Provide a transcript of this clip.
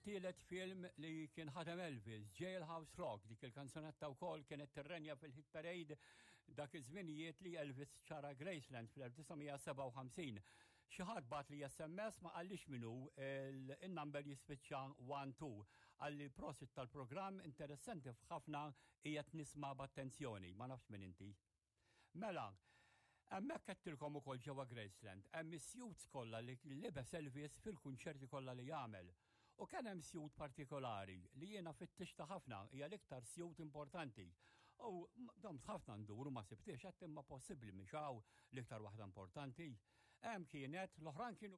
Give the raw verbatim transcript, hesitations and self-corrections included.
It-tielet film li kien ħadem Elvis, Jailhouse Rock, dik il-kanzunetta wkoll kienet tirrenja fil-hit parade dak iż-żminijiet li Elvis xtara Graceland fl-elf disa' mija sebgħa u ħamsin. Xi ħadd bagħatli S M S, ma qallix min hu, il-number jispiċċa wieħed tnejn. Qalli prosit tal-programm, interessanti ħafna, qiegħed nisma' b'attenzjoni, ma nafx min inti. Mela, hemmhekk għedtilkom ukoll ġewwa Graceland, hemm is-suits kollha li libes Elvis fil-kunċerti kollha li jagħmel. U kien hemm suit partikolari li jiena fittixta ħafna, hija l-iktar suit importanti. U domt ħafna ndur u ma sibtix, għedt imma possibbli mhix hawn l-iktar waħda importanti. Hemm kienet, l-oħrajn kienu